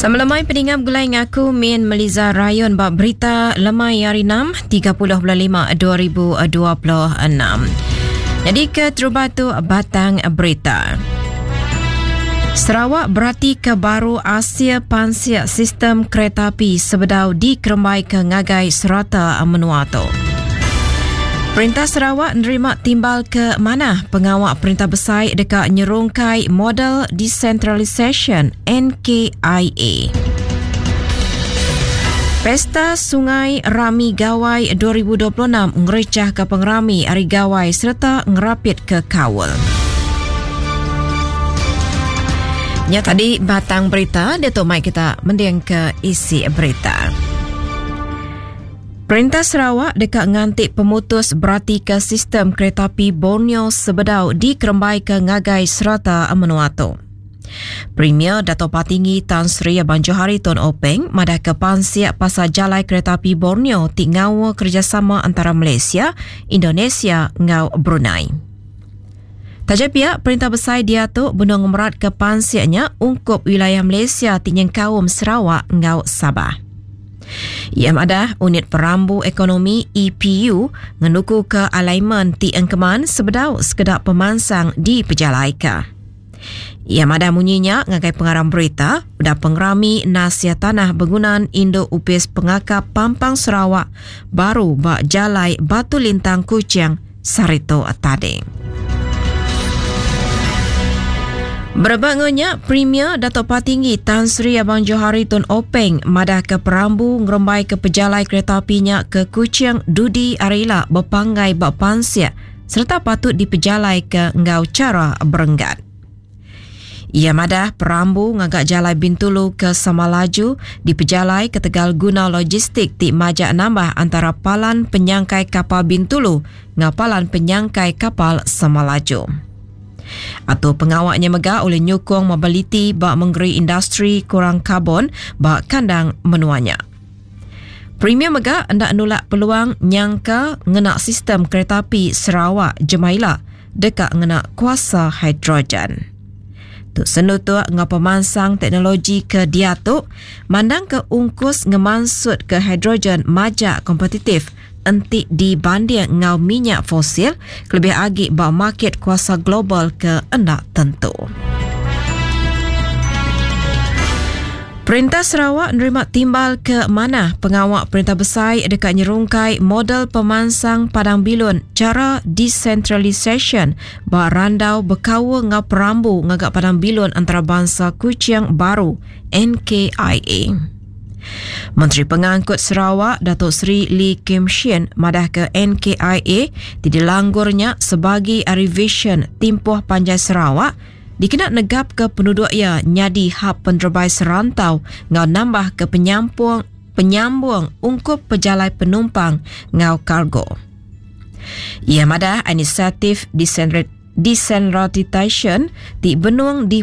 Sama lemai peninga begulai ngaku Min Meliza Rayon ba berita lemai hari 6 30 bulan 5 2026. Jadi ke terubah tu batang berita. Sarawak berati ke baru Asia Pansiak Sistem Kereta Api sebedau dikerembai ke ngagai serata menua tu. Perintah Sarawak nerima timbal ke mana pengawa perintah besai deka nyerungkai model decentralisation NKIA. Pesta Sungai Rami Gawai 2026 ngericah ke pengerami Hari Gawai serta ngerapit ke kaul. Nya tadi batang berita, dia tu mai kita mending ke isi berita. Perintah Sarawak deka nganti pemutus beratika sistem kereta api Borneo sebedau dikerembaika ngagai serata menua tu. Premier Dato Patinggi Tan Sri Abang Johari Tun Openg madahka pansik pasal jalai kereta api Borneo ti ngaul kerejasama antara Malaysia, Indonesia enggau Brunei. Taja pia, perintah besai diatu benung ngemeratka pansik nya ungkup wilayah Malaysia ti nyengkaum Sarawak enggau Sabah. Iya madah, Unit Perambu Ekonomi, EPU, ngenukuka alignment ti engkeman sebedau sekeda pemansang dipejalaika. Iya madah munyi nya ngagai pengarang berita udah pengerami Nasia Tanah Begunan Indu Opis Pengakap Pampang Sarawak baru ba Jalai Batu Lintang Kuching sehari tu tadi. Berebak enggau nya, Premier Datuk Patinggi Tan Sri Abang Johari Tun Openg madahka perambu ngerembaika pejalai kereta api nya ke Kuching dudi hari ila bepanggai ba pansik sereta patut dipejalaika enggau chara berenggat. Iya madah perambu ngaga jalai Bintulu ke Samalaju dipejalai ketegal guna logistik ti majak nambah antara Palan Penyangkai Kapal Bintulu enggau Palan Penyangkai Kapal Samalaju. Atur pengawa nya mega ulih nyukung mobiliti ba mengeri industri kurang karbon ba kandang menua nya. Premier mega enda nulak peluang nyangka ngena sistem kereta api Sarawak jemah ila deka ngena kuasa hidrogen. Tu senutuk enggau pemansang teknologi ke diatu mandangka ungkus ngemansutka hidrogen majak kompetitif enti dibanding enggau minyak fosil kelebih agi ba makit kuasa global ke enda tentu. Perintah Sarawak nerima timbal ke manah pengawa perintah besai deka nyerungkai model pemansang padang bilun chara desentralisasyen ba randau bekaul enggau perambu ngaga padang bilun antarabansa Kuching baru, NKIA. Menteri Pengangkut Sarawak Datuk Seri Lee Kim Shin madahka NKIA ti dilanggur nya sebagi ari visyen timpuh panjai Sarawak dikena negapka penuduk iya nyadi hab penerebai serantau enggau nambahka penyampung penyambung ungkup pejalai penumpang enggau kargo. Iya madah inisiatif desentralisasyen ti benung di.